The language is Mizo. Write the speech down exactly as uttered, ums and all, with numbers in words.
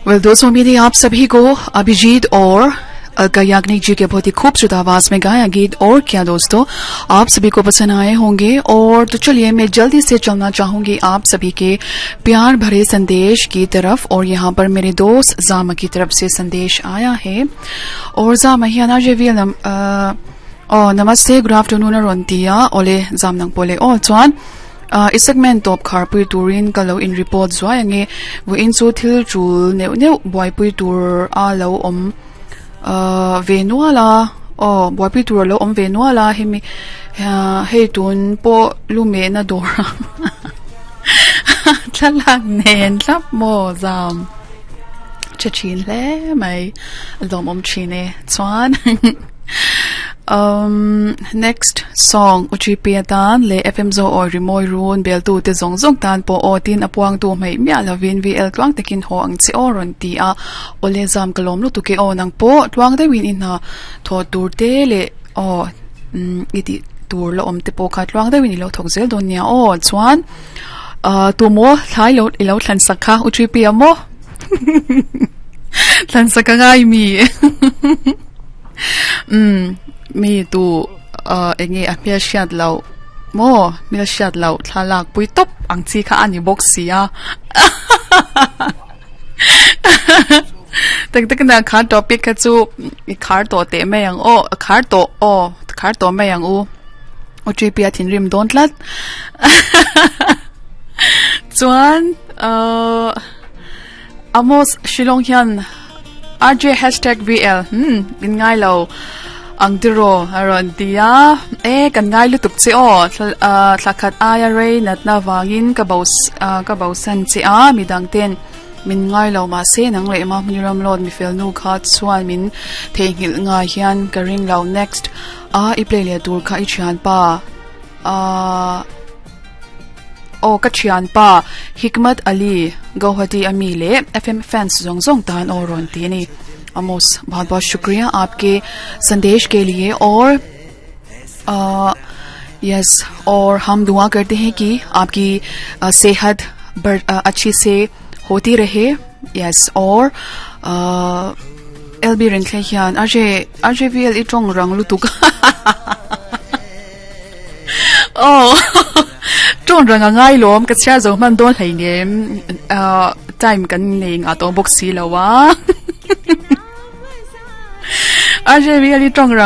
Well दोस्तों, उम्मीद है आप सभी को अभिजीत और अलका याग्निक जी के बहुत ही खूबसूरत आवाज में गाया गीत और क्या दोस्तों आप सभी को पसंद आए होंगे। और तो चलिए, मैं जल्दी से चलना चाहूंगी आप सभी के प्यार भरे संदेश की तरफ। और यहाँ पर मेरे दोस्त जामा की तरफ से संदेश आया है और जामा हियाना नम, ओ नमस्ते, गुड आफ्टरनून रोंतिया ओले जाम nang pole o chuan isakmen top khar pui turin kalo in report zuai ange vu in chu thil chul neu neu boy pui tur a lo om ve nuala o boy pui tur lo om ve nuala hemi hei tun po lume na dor thlalak nen tlap mo zam che chin le mai lom om chine chuan. Um, next song uchi pe tan le F M zo or rimoi run bel tu te zong zong tan po o tin apuang tu mai mia lovin V L tluang tekin ho ang chi oron ti a ole zam kalom lu tu ke o nang po tluang de win in ha tho tur te le o iti tur lo om te po kha tluang de win lo thok zel don nia o. Chuan tu mo thai lo ilo thlan sakha uchi pi amo thlan sakha ngai mi um mi tu enge a hmel hriat lo mo mil hriat lo thlalak pui top ang chi kha ani bawk sia tak tak na kha topic kha chu i khar to te mai ang o khar to o khar to mai ang u o chi pia thin rim don tlat. Chuan uh Amos Shillong hian R J hashtag V L hmm in ngai lo ang tiro aron tia e kan ngai lu tuk che o thlakhat aya rei nat na wangin ka bo ka bo san che a midang ten min ngai lo ma se nang le ma muniram lot mi fel nu kha chuan min thehngil nga hian ka ring lo. Next a i play le tur kha i thian pa a o ka thian pa Hikmat Ali, Guwahati ami le F M fans zong zong tan o ron ti ni. Amos, बहुत बहुत शुक्रिया आपके संदेश के लिए। और यस, और हम दुआ करते हैं कि आपकी सेहत अच्छी से होती रहे। यस, और L B रिंथले hian R J R J V L itong rang lutuk oh tong rang ngai lom ka chia zo man don hlei nem time kan nei nga to box si lawa R J V L itong rang.